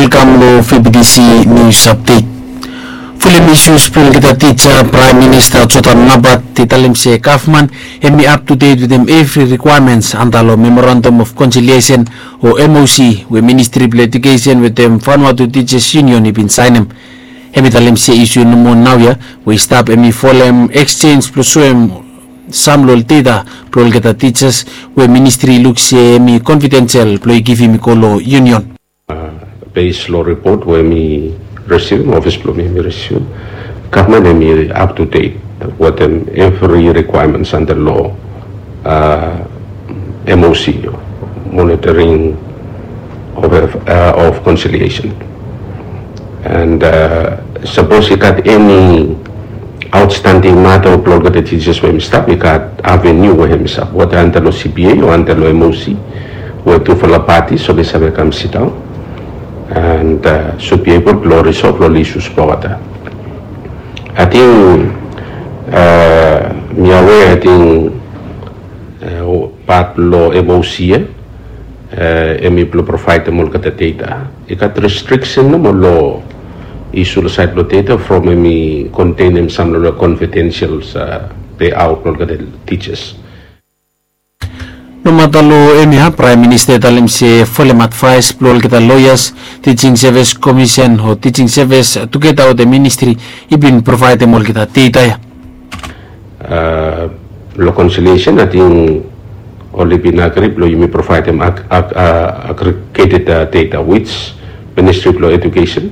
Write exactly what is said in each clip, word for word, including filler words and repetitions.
Welkam long V B T C News Update. Fulem isus blong olgeta tija, Praem Minista Jotam Napat i talem se gavman hemi up to date wetem evri requirements anda long Memorandum of Conciliation o M O C we Ministri blong Edukesen wetem Vanuatu Teachers Union i bin saenem. Hemi talem se isu nomo naoia we i stap hemi folem exchange blong soem sam long ol data blong olgeta tijas we ministri i luk se hemi confidential blong i givim i go long union. Base long ripot we mi risivim, ofis blong mi mi risivim, gavman hemi up to date wetem evri requirements anda long M O C, Monitoring of, of Conciliation. And sapos i gat eni outstanding mata blong olgeta tijas we hemi stap, i gat avenue we hemi stap, weda anda long C B A o anda long M O C, we tufala parties oli save kam sidaon and should be able blong resolve long ol isus blong olgeta. Ating mi aware, ating pat blong M O C ia hemi blong provaedem olgeta data. I gat restriksen nomo long isu long saed blong data from hemi kontenem sam long confidential payout blong olgeta tijas. Nomata long hemia, Praem Minista i talem se folem advaes blong olgeta loeas, Teaching Service Commission o Teaching Service tugeta wetem ministri i bin provaedem olgeta data ia. Long conciliation, ating oli bin agri blong yumi provaedem aggregated data which Ministry blong Education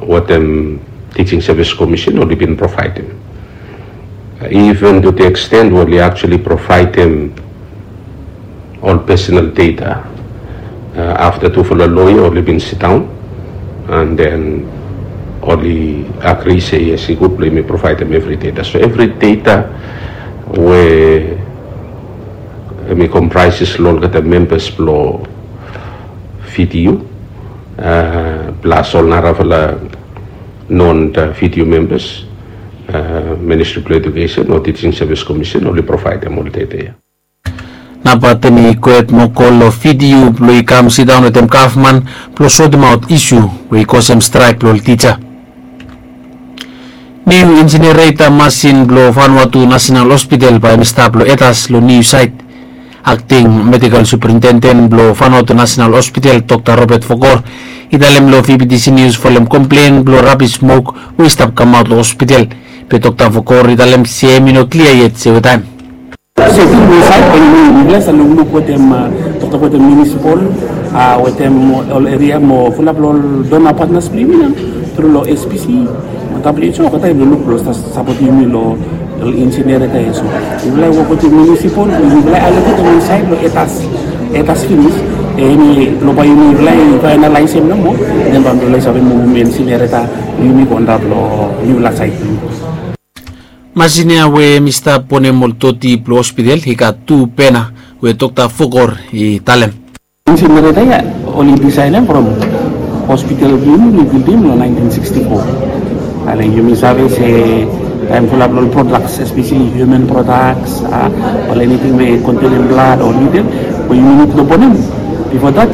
wetem Teaching Service Commission oli bin provaedem. Even to the extent we oli actually provaedem ol personal data afta tufala loea oli bin sidaon and then oli agri se yes, i gud blong yumi provaedem evri data. So evri data we hemi comprises long olgeta membas blong V T U plus ol narafala non V T U membas, Ministry blong Education o Teaching Service Commission oli provaedem ol data ia. Napat hemi gohed mo go long V T U blong i kam sidaon wetem gavman blong sotemaot isu we i kosem straek blong ol tija. Niu insinereta masin blong Vanuatu National Hospital bae hemi stap long Etas long niu saet. Akting Medikal Suprintenden blong Vanuatu National Hospital, Dokta Robert Vokor, i talem long V B T C News folem komplen blong rabis smok we i stap kamaot long hospital. Be Dokta Vokor i talem se hemi no klia yet se wetaem. Seting blong saet blong yumi, mifala i save lukluk wetem, toktok wetem munisipal, wetem ol eria mo fulap long ol dona patnas blong yumi nao tru long S P C mo W H O, olgeta i lukluk blong sapotem yumi long ol insinereta ia. So mifala i wok wetem munisipal, mifala i aloketem wan saet long Etas, Etas finis. Hemi long bae yumi, mifala i faenalaesem nomo, den bae mifala i save muvum insinereta blong yumi go antap long niufala saet blong yumi. Masin ia we hemi stap bonem ol doti blong hospital i gat tu bena we Dokta Vokor i talem. Insinereta ia oli disaenem from hospital blong yumi oli bildim long naentin siksti fo. Ale yumi save se taem fulap long ol prodaks, espeseli hiuman prodaks, ol eniting we kontenem blad o nidel we yumi nid long bonem. Bifo dat,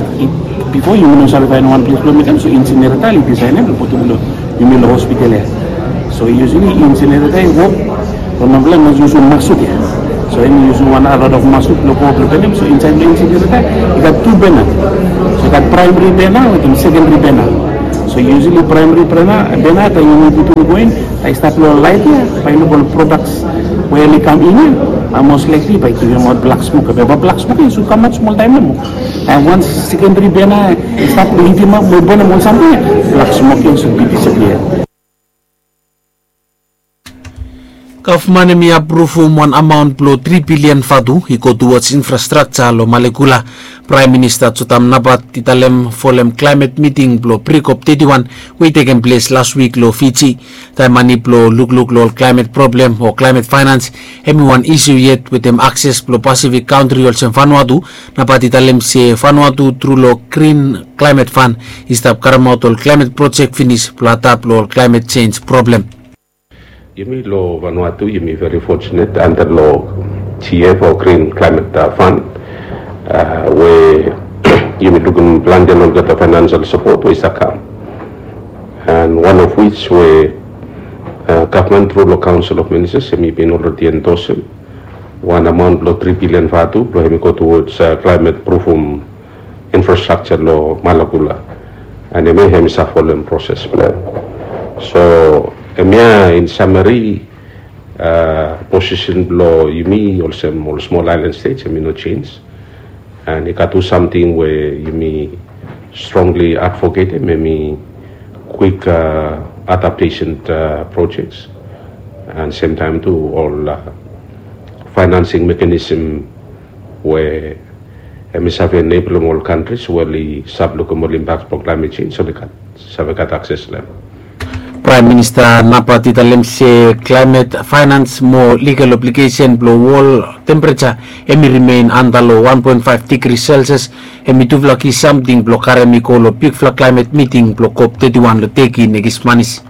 bifo yumi no save faenem wan ples blong mekem, so insinereta oli disaenem blong putum long yumi long hospital ia. So usually insinereta i wok long mifala i mas yusum masuk ia. So hemi yusum wan a lot of masuk blong go blong bonem. So insaed long insinereta i gat tu bena. So i gat praemari bena wetem sekendari bena. So usually praemari bena, bena taem yumi putum go in, taem i stap long laet ia, bae i luk ol prodaks we oli kam in ia, most likely bae i givimaot blak smok ia. Be blak smok ia i sud kamaot smol taem nomo. Taem wan sekendari bena i stap long hitimap mo bonem ol samting ia, blak smok ia i sud bin disapia. Gavman hemi apruvum wan amaon blong tri bilian vatu i go towards infrastructure long Malekula. Praem Minista Jotam Napat i talem folem klaemet miting blong pre-COP teti wan we i tekem ples las wik long Fiji. Taem mane blong lukluk long ol klaemet problem o klaemet faenans hemi wan isu yet wetem akses blong Pasifik kantri olsem Vanuatu. Napat i talem se Vanuatu tru long Green Climate Fund i stap karemaot ol klaemet projek finis blong adap long ol klaemet jenj problem. Yumi long Vanuatu yumi very fortunate anda long G F o Green Climate Fund we Yumi lukim plante long olgeta financial support we i save kam. And one of which we uh, government through long Council of Ministers, yumi bin already endorse him one amount lo three billion vatu, lo him go towards uh, climate proofum infrastructure lo Malakula. And him, him is a following process plan. So, him in summary, uh, position lo yumi, olsem ol small island states, him no change. And i gat tu samting we yumi strongly advocate, maybe quick uh, adaptation uh, projects, and same time tu ol uh, financing mechanism we hemi save enable ol countries we oli save lukim ol impact blong climate change, oli gat save gat access long hem. Prime Minister Napat i talem se climate finance mo legal obligation blong wol temperature hemi remain anda long one point five degree Celsius, hemi tufala ki samting blong karem i go long bigfala climate meeting blong COP thirty-one long Turkey next month.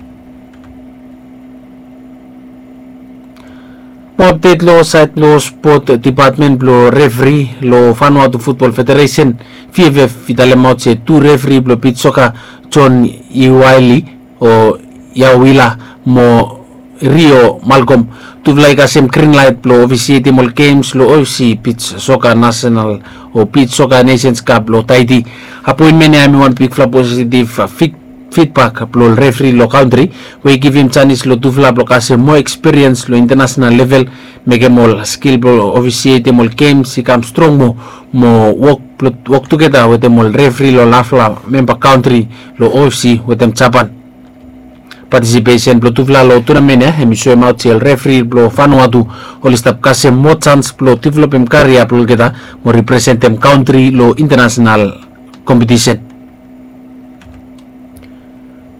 Mo update long side long sport department blong referee long Vanuatu Football Federation, VFF, i talemaot se tu referee blong beach soccer, John Iwaili o Yawila mo Rio Malcolm, tufala i kasem green light blong officiatem ol games long OFC beach soccer national o beach soccer Nations Cup long Tahiti. Appointment ia hemi wan bigfala positive feedback blong ol referee long kantri, we i givim janis long tufala blong kasem moa experience long international level, mekem ol skill blong officiatem ol games i kam strong moa, mo wok blong wok tugeta wetem ol referee long narafala memba kantri long OFC wetem Japan. Participation blong tufala long tournament ia hemi soemaot se ol referee blong Vanuatu oli stap kasem moa jans blong developem career blong olgeta mo representem kantri long international competition.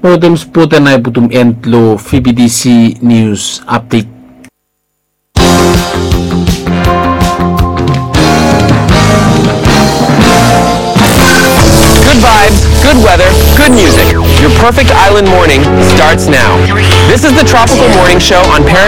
Mo wetem spot ia nao i putum end long VBTC news update. Good vibes, good weather, good music. Your perfect island morning starts now. This is the Tropical Morning Show on Paradise